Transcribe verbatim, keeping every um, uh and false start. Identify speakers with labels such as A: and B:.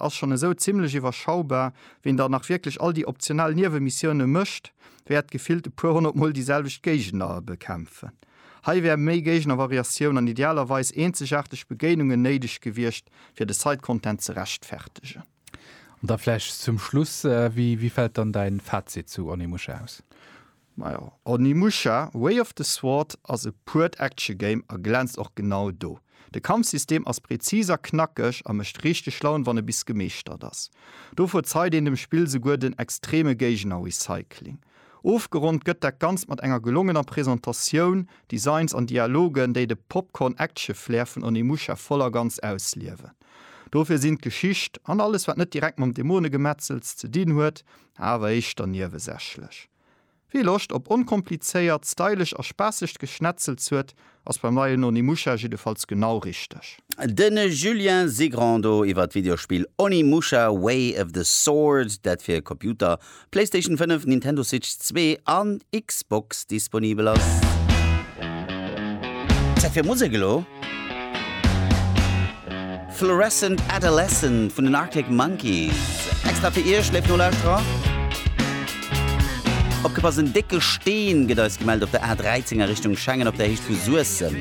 A: ass schonn esou zimmlech iwwerschaubar, wien dann nach wierklech all déi optional Niewemissioune mécht, wäert gefillt e puer honnert Mol déi selwecht Géigner bekämpfen. Hei wär méi Géignervariatioun an idealerweis eenzegaarteg Begéinungen néideg gewiescht, fir de Side-Content ze rechtfertegen.
B: An da vläicht zum Schluss, wéi wéi fält dann däin Fazit zu Onimusha aus?
A: Majo, Onimusha, Way of the Sword ass e puert Action-Game a glänzt och genau do. De Kampfsystem ass präzis a knackeg a mécht richteg Laun, wann e bis gemeeschtert ass. Do verzeit een dem Spill souguer den extreme Géigner-Recycling. Ofgeronnt gëtt dat Ganzt mat enger gelongener Presentatioun, Designs an Dialogen, déi de Popcorn-Action-Flair vun Onimusha voll a ganz ausliewen. Dofir sinn d'Geschicht an alles, wat net direkt mam Dämonegemetzels ze dinn huet, awer éischter niewesächlech. Wie Loscht op onkomplizéiert, stylesch a spaassegt Geschnetzels huet, ass beim neien Onimusha jiddefalls genau richteg.
C: De Julien Zigrand do iwwer d'Videospill Onimusha Way of the Sword, dat fir Computer, PlayStation fënnef, Nintendo Switch zwee an Xbox disponibel ass. Zäit fir Musek elo. Fluorescent Adolescent vun den Arctic Monkeys. Extra fir Iech, léif Nolauschterer. Opgepasst, en décke Steen gëtt eis gemellt op der A dräizéng a Richtung Schengen op der Héicht vu Suessem.